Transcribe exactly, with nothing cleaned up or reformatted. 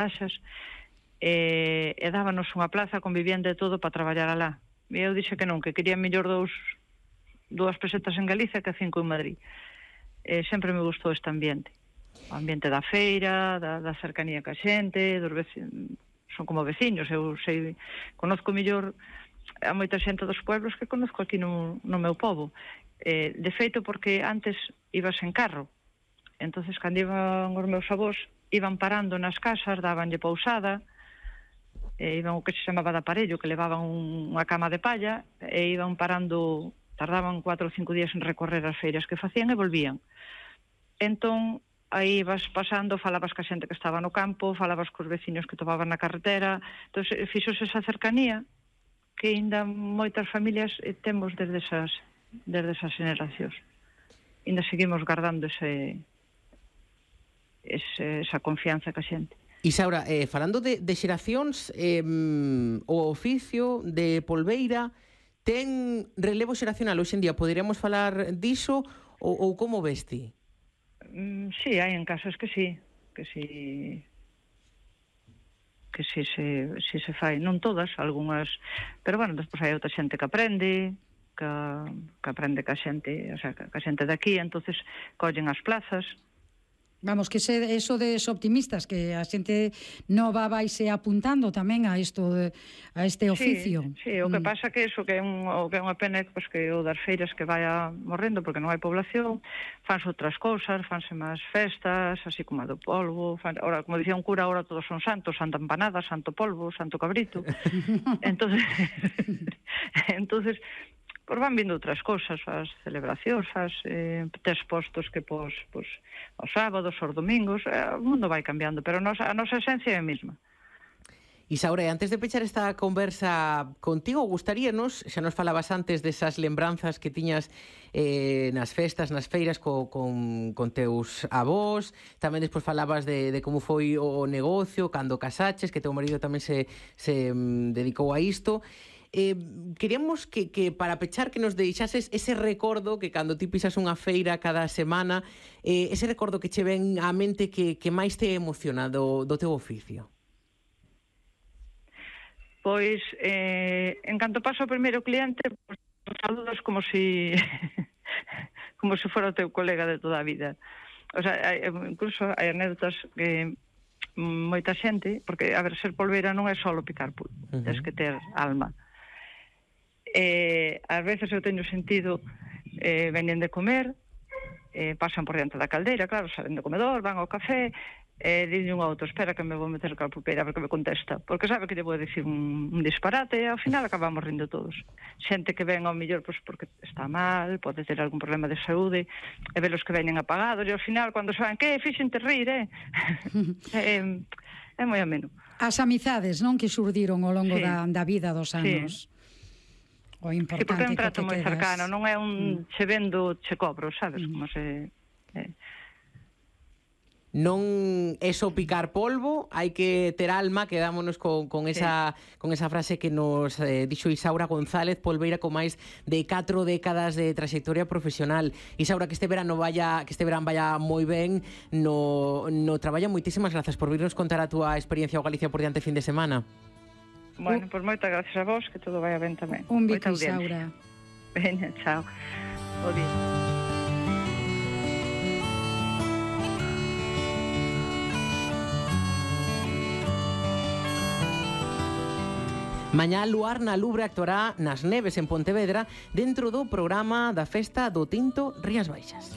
taxas, e, e dábanos unha plaza con vivienda e todo para traballar alá. E eu dixe que non, que quería mellor dous, dúas pesetas en Galicia que cinco en Madrid. E sempre me gustou este ambiente. O ambiente da feira, da, da cercanía ca xente, dos vecinos, son como veciños, eu sei, conozco mellor a moita xente dos pueblos que conozco aquí no, no meu pobo. Eh, de feito, porque antes ibas en carro, entonces cando iban os meus avós, iban parando nas casas, dabanlle pousada, e iban o que se chamaba de aparello, que levaban un, unha cama de palla, e iban parando, tardaban cuatro ou cinco días en recorrer as feiras que facían e volvían. Entón, aí vas pasando, falabas ca xente que estaba no campo, falabas cos veciños que topaban na carretera, entón fixose esa cercanía que ainda moitas familias temos desde esas, desde esas generacións. Ainda seguimos guardando ese, ese, esa confianza ca xente. Isaura, eh, falando de, de xeracións, eh, o oficio de polbeira ten relevo xeracional hoxe en día? Poderíamos falar diso ou, ou como vesti? Mm, sí, hai en casos que sí, que sí, que sí se, sí se fai, non todas, algunhas, pero bueno, despois hai outra xente que aprende, que, que aprende ca xente, o sea, ca xente de aquí, entonces collen as plazas. Vamos, que se, eso de optimistas, que a xente nova vaise apuntando tamén a isto, de, a este oficio. Sí, sí, o que mm. pasa que eso, que é, un, o que é unha pena, pues, que o das feiras que vaya morrendo, porque non hai población, fanse outras cousas, fanse máis festas, así como a do polvo, fan, ahora, como dicía un cura, ahora todos son santos, santa empanada, santo polvo, santo cabrito. entonces, entonces pois van vindo outras cousas, as celebracións, as eh, tes postos que pos, pos, os sábados, os domingos, eh, o mundo vai cambiando, pero a nosa, a nosa esencia é a mesma. Isaura, antes de pechar esta conversa contigo, gustaríanos, xa nos falabas antes desas lembranzas que tiñas eh, nas festas, nas feiras co, con, con teus avós, tamén despois falabas de, de como foi o negocio, cando casaches, que teu marido tamén se, se um, dedicou a isto. Eh, queríamos que, que para pechar que nos deixases ese recordo que cando ti pisas unha feira cada semana, eh, ese recordo que che ven á mente que, que máis te emociona do, do teu oficio. Pois, eh, en canto paso o primeiro cliente, pues, saludos como si como se fora o teu colega de toda a vida. O sea, hai, incluso hai anécdotas que moita xente, porque, a ver, ser polveira non é só picar pulpo, uh -huh. Tens que ter alma. Eh, ás veces eu teño sentido, eh, venen de comer, eh, pasan por diante da caldeira, claro, salen do comedor, van ao café, eh, dille un outro, espera que me vou meter ca pulpeira a ver que me contesta, porque sabe que lle vou dicir un, un disparate e ao final acabamos rindo todos. Xente que ven ao millor pois, porque está mal, pode ter algún problema de saúde, e velos que veñen apagados, e ao final, cando saben, que fixente rir, eh? eh é moi ameno. As amizades, non, que xurdiron ao longo sí. da, da vida dos anos. Sí. O importante, sí, porque é un trato moi quedas... cercano, non é un mm. che vendo, che cobro, sabes, mm. como se... Eh. Non é só picar polvo, hai que ter alma, quedámonos con, con, esa, sí. con esa frase que nos eh, dixo Isaura González, polveira con máis de catro décadas de trayectoria profesional. Isaura, que este verano vaya, que este verán vaya moi ben no, no traballo. Moitísimas grazas por virnos contar a túa experiencia ao Galicia por diante fin de semana. Bueno, pois pues moitas gracias a vos, que todo vai ben tamén. Un bico, Isaura. Veña, chao. Bo día. Mañá Luar na Lubre actuará nas Neves en Pontevedra dentro do programa da Festa do Tinto Rías Baixas.